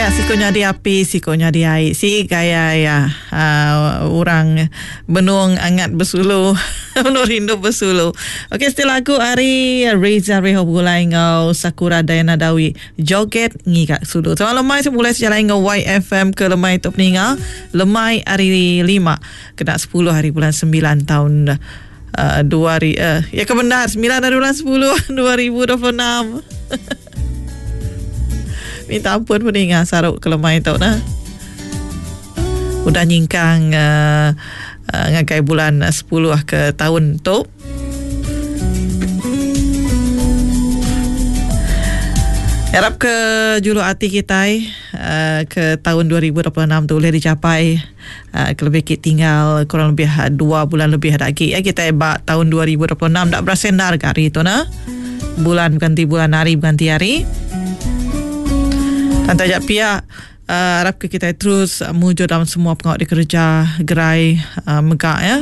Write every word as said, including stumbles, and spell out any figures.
Nya siku nyadi api, siku nyadi ai. Si gaya ya uh, orang benung angat besulu, benung rindu besulu. Okey, setelah lagu ari Reza Reho begulai ngau Sakura Diana Dawi, Joget Ngiga Sulu. Selamat lemai semulai sejalai ngau Y F M ke lemai tu peninga. Lemai hari lima, kena sepuluh hari bulan sembilan tahun uh, dua hari, uh, ya kebenar sembilan hari bulan sepuluh dua ribu dua puluh enam. Minta ampun peninga saruk ke lemai tu nah. Udah nyingkang uh, uh, ngagai bulan sepuluh ke tahun tu. Harap ke julu hati kita uh, ke tahun dua ribu dua puluh enam tu boleh dicapai. Uh, lebih kita tinggal kurang lebih dua bulan lebih lagi ya kita bak tahun dua ribu dua puluh enam tak berasendar ke hari tu nah. Bulan berganti bulan, hari berganti hari. Dan tajak pihak uh, harap ke kita terus uh, mujur dalam semua pengawal dikerja gerai uh, megak ya.